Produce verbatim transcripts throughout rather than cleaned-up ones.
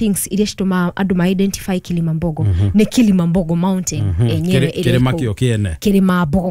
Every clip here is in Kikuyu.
things iria citũmaga andũ ma identify Kilimambogo nĩ Kilimambogo Mountain enyewe Kĩrĩ- ĩrĩa kĩrĩma ĩkũu. kĩo kĩene. Kĩrĩma Mbogo.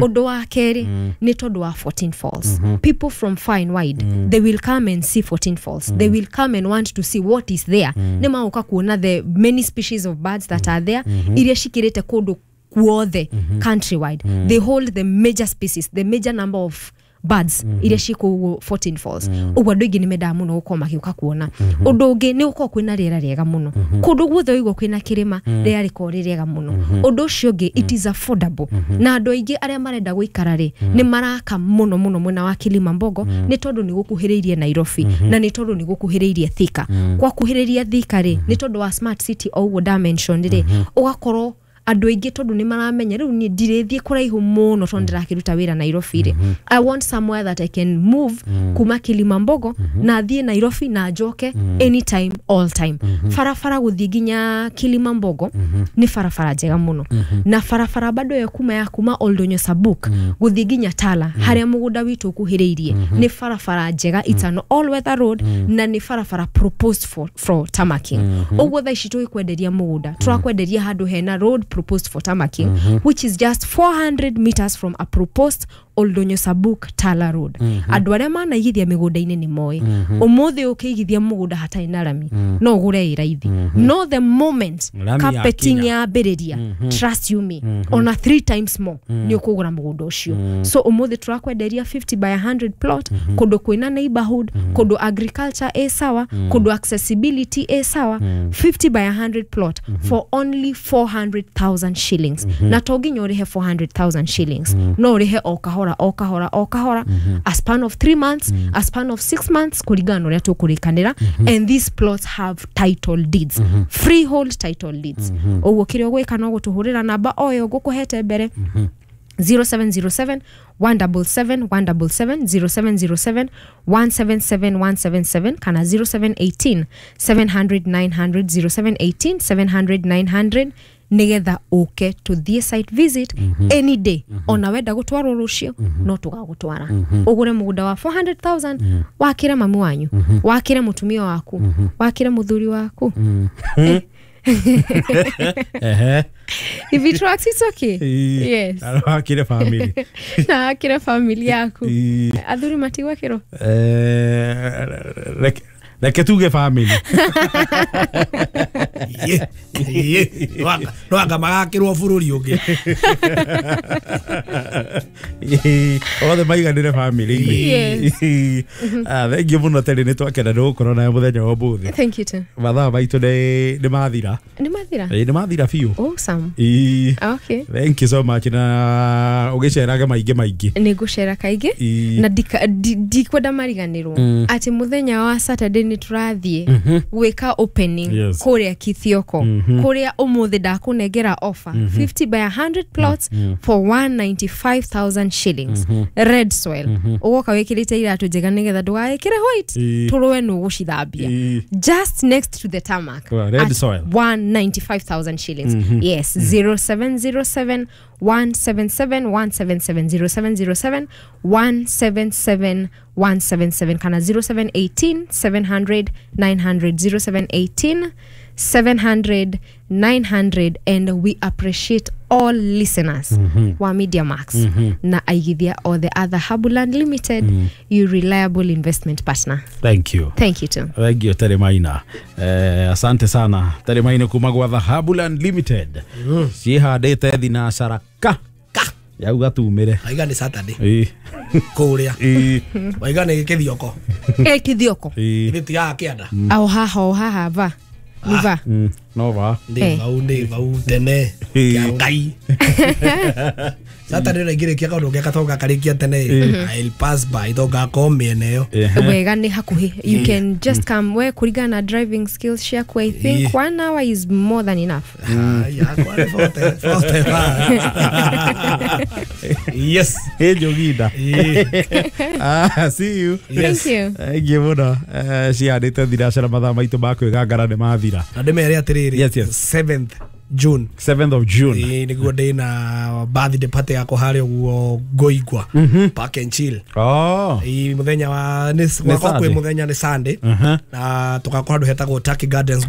Ũndũ wa kerĩ nĩ tondũ wa fourteen Falls. People from far and wide, they will come and see fourteen Falls. They will come and want to see what is there. Nĩ magoka kuona the many species of birds that are there, iria cikĩrĩte kũndũ kuothe countrywide. They hold the major species, the major number of birds iria ci kũu fourteen Falls. Ũguo andũ aingĩ nĩ mendaga mũno gũkorwo magĩũka kuona. Ũndũ ũngĩ nĩ gũkorwo kwĩna rĩera rĩega mũno. Kũndũ guothe ũigua kwĩna kĩrĩma, rĩera rĩkorwo rĩ rĩega mũno. Ũndũ ũcio ũngĩ, it is affordable, na andũ aingĩ arĩa marenda gũikara rĩ, nĩ maraka mũno mũno mwena wa Kilimambogo, nĩ tondũ nĩ gũkuhĩrĩirie Nairobi na nĩ tondũ nĩ gũkuhĩrĩirie Thika. Kwakuhĩrĩria Thika rĩ, nĩ tondũ wa smart city o ũguo ndamention rĩ, ũgakorwo andũ aingĩ tondũ nĩ maramenya rĩu niĩ ndirĩthiĩ kũraihu mũno tondũ ndĩrakĩruta wĩra Nairobi rĩ, I want somewhere that I can move kuma Kilimambogo na thiĩ Nairobi na njoke anytime, all time. Barabara gũthiĩ nginya Kilimambogo nĩ barabara njega mũno, na barabara bado ya kuma ya kuma Oldonyo Sabuk gũthiĩ nginya Tala, harĩa mũgũnda witũ ũkuhĩrĩirie, nĩ barabara njega. It's an all weather road na nĩ barabara proposed for, for tarmacking. Ũguo thaa ici tũgĩkwenderia mũgũnda, tũrakwenderia handũ hena road proposed for tarmacking, which is just four hundred meters from a proposed Oldonyo Sabuk Tala road. Andũ arĩa manaigithia mĩgũnda-inĩ nĩ moĩ ũmũthĩ ũkĩigithia mũgũnda hatarĩ na rami no ũgũre ĩ raithi, no the moment Rami carpeting yakinya. Yambĩrĩria, trust you me, ona three times more nĩ ũkũgũra mũgũnda ũcio. So ũmũthĩ tũrakwenderia fifty by one hundred plot kũndũ kwĩna neighborhood, kũndũ agriculture ĩ sawa, kũndũ accessibility ĩ sawa, fifty by one hundred plot for only four hundred thousand shillings. Na to nginya ũrĩhe four hundred thousand shillings, no ũrĩhe o kahora o kahora o kahora, a span of three months, a span of six months, kũringana na ũrĩa tũkũrĩkanĩra. And these plots have title deeds, freehold title deeds. Ũguo kĩrĩa ũgwĩka no gũtũhũrĩra namba o ĩyo ngũkũhete mbere, zero seven zero seven one seven seven one seven seven, zero seven zero seven one seven seven one seven seven, kana zero seven one eight seven hundred nine hundred, zero seven one eight seven hundred nine hundred, nigetha ũke tũthiĩ site visit any day. Ona wenda gũtwarwo rũciũ no tũgagũtwara, ũgũre mũgũnda wa four hundred thousand, wakĩre mami wanyu, wakĩre mũtumia waku, wakĩre mũthuri waku. Ehe. If it works, it's okay. Yes. Wakire family. Na wakĩre family yaku. Ii. Athuri matigwakĩrwo. Eh, reke reke tuge family. Ye, ye, no anga magakĩrwo bũrũri ũngĩ. Othe maiganĩre family-inĩ. Yes. Ah, thank you mũno Terry, nĩ twakena nĩ gũkorwo nawe mũthenya wa ũmũthĩ. Thank you too. Mathaa maitũ nĩ nĩ mathira. Nĩ mathira. Ĩĩ, nĩ mathira biũ. Awesome. Ĩĩ. Okay. Thank you so much, na ũgĩcerage maingĩ maingĩ. Nĩ ngũcera kaingĩ. Ĩĩ. Na ndika- ndi- ndikwenda mariganĩrwo atĩ mũthenya wa Saturday nĩ tũrathiĩ gwĩka opening Yes. kũrĩa Kithioko, kũrĩa ũmũthĩ ndakũnengera offer, fifty by one hundred plots for one hundred ninety-five thousand shillings, red soil. Ũgoka wĩkĩrĩte iratũ njega nĩgetha ndũgagĩkĩre white, Ĩĩ. tũrũe nũ gũcithambia, Ĩĩ. just next to the tarmac. Well, red at soil. one hundred ninety-five thousand shillings. Yes, zero seven zero seven one seven seven one seven seven, zero seven zero seven one seven seven one seven seven, kana zero seven one eight seven hundred nine hundred, zero seven one eight seven hundred nine hundred. And we appreciate all listeners wa Media Max na aigithia or the other Habuland Limited, your reliable investment partner. Thank you. Thank you too. Thank you, Terry Maina. Eh, asante sana Terry Maina kuma gwa Dhahabuland Limited. Cihandĩte thinacara ka ka yauga tumĩre. Waiga nĩ Saturday Ĩĩ. kũrĩa. Ĩĩ. Waiga nĩ Kĩthioko. Eh, Kithioko. Ĩĩ. Githĩ tigaga kĩanda? Ao haha, o haha va nĩ va. Mm, no va. Ndĩ Eh. vau, ndĩ vau tene. Ĩĩ. Kĩa Ngai, Saturday ũraingĩrĩkia kaũndũ geka to gakarĩkia tene, I'll pass by to ngakorwo mĩena ĩyo. Ehe. Wega, nĩ hakuhĩ, you can just come. We kũringana na driving skills ciaku, I think Yeah. one hour is more than enough. Ai, yakwa nĩ forty, forty five. Yes. Ĩ Njoginda. Ĩĩ. Ah, see you. Yes. Thank you. Thank you mũno. Eh, cihandĩte thinacara, mathaa maitũ ma kwĩgangara nĩ mathira. Na ndĩmere atĩrĩrĩ, Yes, yes. seventh June. seventh of June. Ĩĩ, nĩguo ndĩna birthday party yakwa harĩa ũguo Ngoigwa Park and Chill. Oh. Ĩĩ, mũthenya wa nĩ gwakwa kwĩ Sunday. mũthenya nĩ Sunday Uh-huh. na tũgakorwo handũ hetagwo Turkey Gardens.